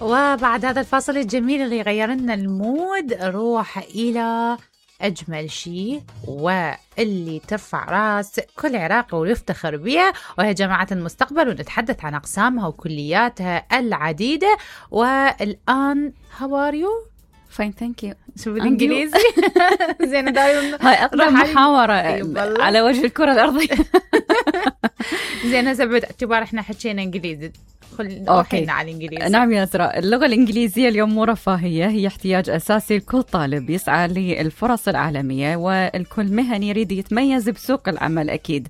وبعد هذا الفاصل الجميل اللي يغير لنا المود نروح إلى أجمل شيء واللي ترفع راس كل عراقي ويفتخر بها، وهي جامعة المستقبل، ونتحدث عن أقسامها وكلياتها العديدة. والآن how are you؟ fine thank you. شو بالإنجليزي؟ زين دايما هاي أقدم محاورة على وجه الكرة الأرضية. زين هسه باعتبار احنا حكينا إنجليزي روحينا على الإنجليزي. نعم يا إسراء، اللغة الإنجليزية اليوم مو رفاهية، هي احتياج أساسي لكل طالب يسعى للفرص العالمية، والكل مهني يريد يتميز بسوق العمل أكيد،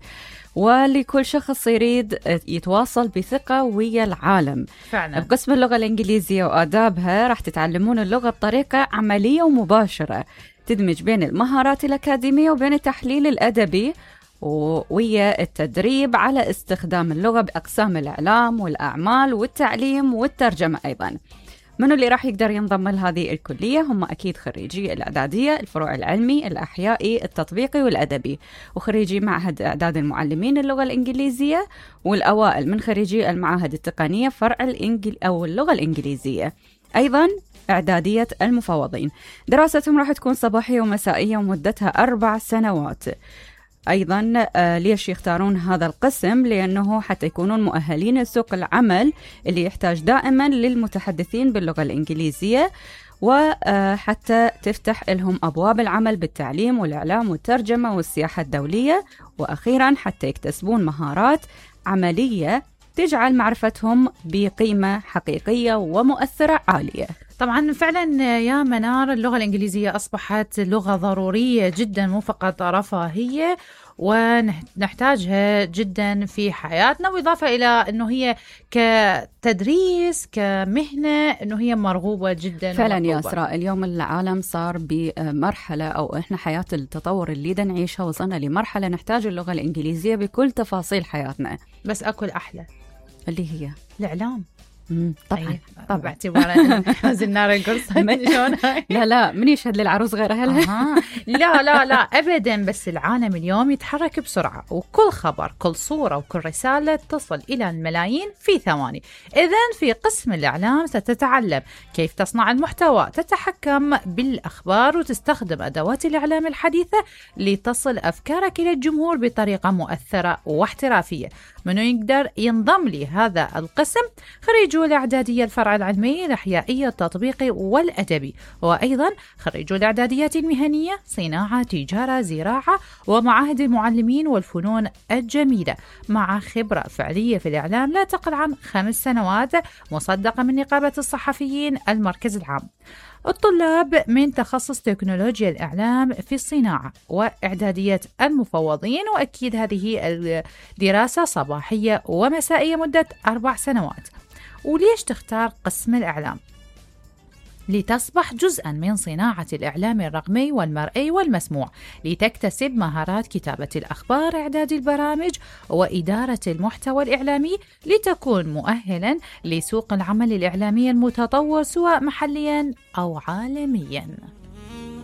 ولكل شخص يريد يتواصل بثقة ويا العالم. فعلا. بقسم اللغة الإنجليزية وآدابها راح تتعلمون اللغة بطريقة عملية ومباشرة تدمج بين المهارات الأكاديمية وبين التحليل الأدبي ويا التدريب على استخدام اللغة بأقسام الإعلام والأعمال والتعليم والترجمة أيضا. منو اللي راح يقدر ينضم لهذه الكلية؟ هم أكيد خريجي الإعدادية، الفروع العلمي، الأحيائي، التطبيقي والأدبي، وخريجي معهد إعداد المعلمين اللغة الإنجليزية، والأوائل من خريجي المعاهد التقنية فرع أو اللغة الإنجليزية. أيضا إعدادية المفوضين، دراستهم راح تكون صباحية ومسائية ومدتها 4 سنوات. أيضا ليش يختارون هذا القسم؟ لأنه حتى يكونون مؤهلين لسوق العمل اللي يحتاج دائما للمتحدثين باللغة الإنجليزية، وحتى تفتح لهم أبواب العمل بالتعليم والإعلام والترجمة والسياحة الدولية، وأخيرا حتى يكتسبون مهارات عملية تجعل معرفتهم بقيمة حقيقية ومؤثرة عالية. طبعا فعلا يا منار، اللغة الإنجليزية أصبحت لغة ضرورية جدا، مو فقط رفاهية، ونحتاجها جدا في حياتنا، وإضافة إلى أنه هي كتدريس كمهنة أنه هي مرغوبة جدا. فعلا يا إسراء، اليوم العالم صار بمرحلة، أو إحنا حياة التطور اللي دا نعيشها وصلنا لمرحلة نحتاج اللغة الإنجليزية بكل تفاصيل حياتنا. بس أكل أحلى اللي هي الإعلام. طبعا طبعا باعتبار زنار القرص. لا من يشهد للعروس غير أهلها. لا أبدا، بس العالم اليوم يتحرك بسرعة، وكل خبر كل صورة وكل رسالة تصل إلى الملايين في ثواني. إذن في قسم الإعلام ستتعلم كيف تصنع المحتوى، تتحكم بالأخبار، وتستخدم أدوات الإعلام الحديثة لتصل أفكارك إلى الجمهور بطريقة مؤثرة واحترافية. منو يقدر ينضم لهذا القسم؟ خريجو الإعدادية الفرع العلمي الأحيائي التطبيقي والأدبي، وأيضا خريجو الإعداديات المهنية صناعة تجارة زراعة ومعاهد المعلمين والفنون الجميلة، مع خبرة فعلية في الإعلام لا تقل عن 5 سنوات، مصدقة من نقابة الصحفيين المركز العام. الطلاب من تخصص تكنولوجيا الإعلام في الصناعة وإعدادية المفوضين، وأكيد هذه الدراسة صباحية ومسائية مدة 4 سنوات. وليش تختار قسم الإعلام؟ لتصبح جزءا من صناعة الإعلام الرقمي والمرئي والمسموع، لتكتسب مهارات كتابة الأخبار، إعداد البرامج، وإدارة المحتوى الإعلامي، لتكون مؤهلا لسوق العمل الإعلامي المتطور سواء محليا أو عالميا.